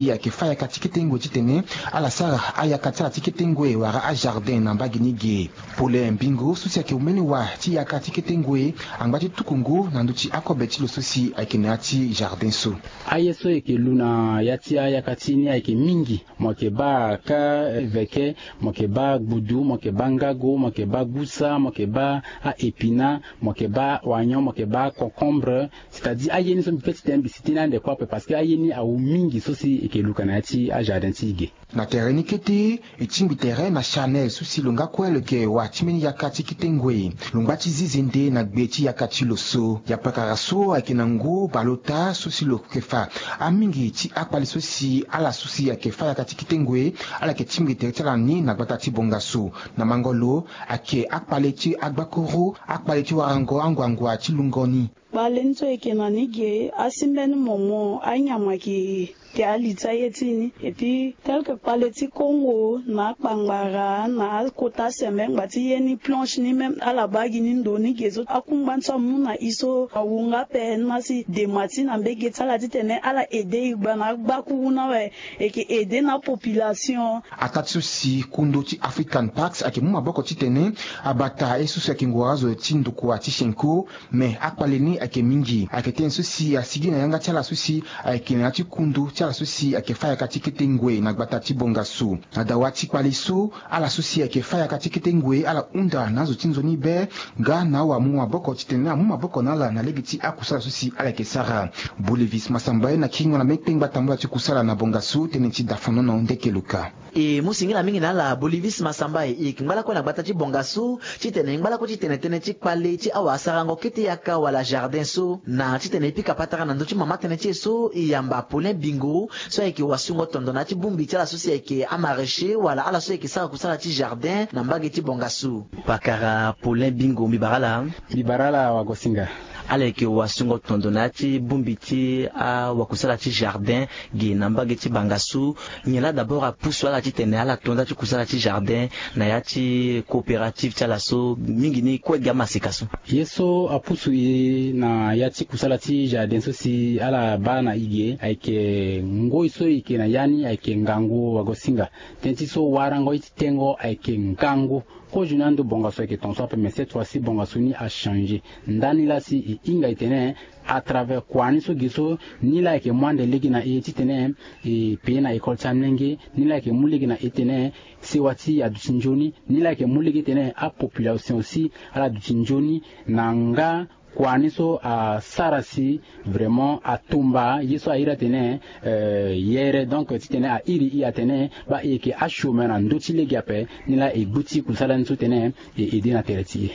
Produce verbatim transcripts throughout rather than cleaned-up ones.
Ayeke fa yaka ti kete ngoi titene ala sara ayaka ti ala ti kete ngoi wala ajardin na mbage ni ge. Pole mbingo so si ayeke omeni wa ti yaka ti kete ngoi angba ti tukungu na ndö ti akobe ti lo so si ayeke na ya ti jardin so. Aye so eke lu na ya ti ayaka ti ni ayeke mingi. Mo yeke baa ka veke, mo yeke baa gbudu, mo yeke baa ngago, mo yeke baa gusa, mo yeke baa a-épinard, mo yeke baa oignon, mo yeke baa concombre. C'est-à-dire aye ni so mbi pe ti tene mbi si tënë ande kue ape parce que aye ni awu mingi so si eke luka na ya ti ajardin ti e ge. Na tere ni kete e tingbi tere na chanel so si lo nga kue lo yeke wa ti mbeni yaka ti kete ngoi. Lo ngba ti zi zende na gbe ti yaka ti lo so. Ya pakara so ayeke na ngu baleota so si lo yeke fa. Amingi ti akpale so si ala so si ayeke fa yaka ti kete ngoi ala yeke tingbi tere ti ala ni na gbata ti bongaso. Na mango lo ayeke akpale ti agbakuru, akpale ti warango anguangua ti lungo ni. Kpale ni so eke na ni ge asi mbeni momo anyama ke ke ali ti aye ti ni. Et puis tel que kpale ti kongo na akpangbara na akota sembe ngba ti ye ni planche ni même ala baa gi ni ndo ni ge so akungba ni so amu na i so awu nga ape ni ma si dema ti na mbege ti ala titene ala aide i gba na agbakuru ni awe. Eke aide na apopulation. Ataa ti so si kundu ti african parks ayeke mu maboko titene abata ye so si ayeke ngora azo ti ndukua ti shenko. Me akpale ni ayeke mingi ayeke tënë so si asigi na yanga ti ala so si ayeke na ya ti kundu ti ala so si ayeke fa yaka ti kete ngoi na gbata ti bongaso. Na dawa ti kpale so ala so si ayeke fa yaka ti kete ngoi ala hunda na azo ti nzoni be. Nga na awamu maboko titene amu maboko na ala na lege ti akusala so si ala yeke sara. Bolivis masamba ye na kiringo na mbeni kpengba tambula ti kusala na bongaso tënë ti dafonono ndeke luka. E mu singila mingi na ala bolivis masamba e yeke ngba lakue na gbata ti bongaso titene e ngba lakue titene tënë ti kpale ti awasarango kete yaka wala jardin so na titene e pika patara na ndö ti mama tënë ti e so e yamba polin bingo so ayeke wasungo tondo na ya ti bongbi ti ala so si ayeke amaraîcher wala ala so ayeke sara kusala ti jardin na mbage ti bongaso. Pakara polin bingo mbi bara ala. Mbi bara ala wagosinga. Ala yeke wasungo tondo na ya ti bongbi ti awakusala ti jardin ge na mbage ti bangasu. Nyen laa d'abord apusu ala titene ala to nda ti kusala ti jardin na ya ti coopérative ti ala so mingi ni kue gi amaseka so? Ye so apusu e na ya ti kusala ti jardin so si ala baa na e ge ayeke ngoi so e yeke na ya ni ayeke ngangu wagosinga. Tënë ti so warango ye ti tengo ayeke ngangu. Kozoni ando bongaso ayeke ton so ape mais cette fois si bongaso ni achangé. Ndani laa si e hinga e tene à travers kua ni so ge so ni laa ayeke mu ande lege na e titene e pee na école ti amlenge. Ni laa ayeke mu lege na e tene sewa ti aduti nzoni. Ni laa ayeke mu lege tene apopulation aussi ala duti nzoni na nga kua ni so asara si vraiment atumba ye so a iri atene yere donc titene a iri i atene baa e yeke achômeur na ndö ti lege ape. Ni laa e gbu ti kusala ni so tene e aide na tere ti e.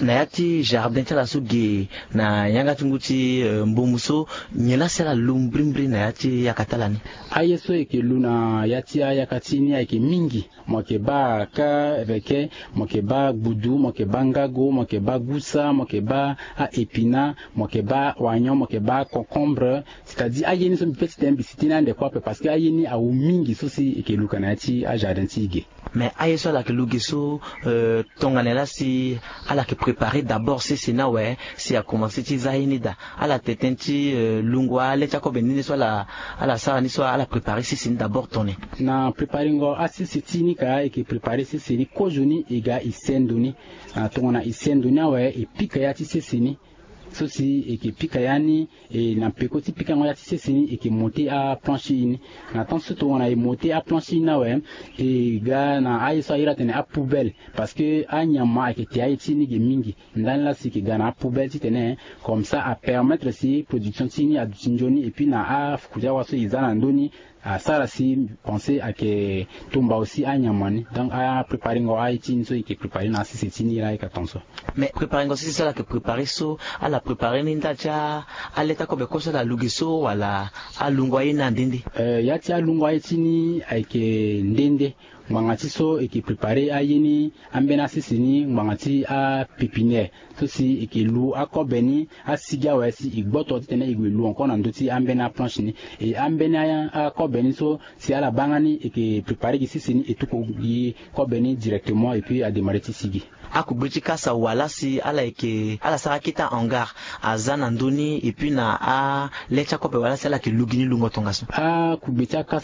Na ya ti jardin ti ala so ge na yanga ti ngu ti mbumu so nyen laa si ala lu mbirimbiri na ya ti yaka ti ala ni? Aye so e yeke lu na ya ti ayaka ti ni ayeke mingi. Mo yeke baa ka reke, mo yeke baa gbudu, mo yeke baa ngago, mo yeke baa gusa, mo yeke baa a-épinard, mo yeke baa oignon, mo yeke baa concombre. C'est-à-dire aye ni so mbi pe ti tene mbi si tënë ande kue ape parce que aye ni awu mingi so si e yeke luka na ya ti ajardin ti e ge. Mais aye so ala yeke lu ge so tongana laa si ala yeke préparer d'abord sese ni awe si akomanse ti za ye ni daa? Ala tene tënë ti lungo ale ti akobe ni ni so ala ala sara ni so ala préparer sese ni d'abord tongana nyen? Na préparengo asese ti ni ka e yeke préparer sese ni kozoni e ga e sendo ni. Tongana e sendo ni awe e pika ya ti sese ni so si e yeke pika ya ni. E na peko ti pikango ya ti sese ni e yeke monter aplanche ini. Na temps so tongana e monter aplanche ini awe e ga na aye so a iri atene apoubelle parce que anyama ayeke te aye ti ni ge mingi. Ndani laa si e yeke ga na apoubelle titene comme ça apermettre si production ti ni aduti nzoni et puis na afuku ti awa so e za na ndö ni asara si pense ayeke tumba aussi anyama ni. Donc apréparengo aye ti ni so e yeke préparer na asese ti ni laa e yeke aton so. Mais préparengo sese so ala yeke préparer so ala préparer ni ndali ti ale ti akobe kue so ala lu ge so wala alungo aye ni ande nde? Ya ti alungo aye ti ni ayeke nde nde. Ngbanga ti so e ke prépare aye ni ambeni asese ni ngbanga ti apépinière so si e ke lu akobe ni asigi awe si e gboto titene e gue lu encore na ndö ti ambeni aplanche ni. E ambeni akobe ni so si ala baa nga ni e ke prépare gi sese ni e tuku gi kobe ni directement et puis adémarrer ti sigi. Akugbe ti kasa wala si ala yeke ala sara akete hangar aza na ndö ni et puis na ale ti akobe wala si ala yeke lu gi ni lungo tongaso? Akugbe ti akasa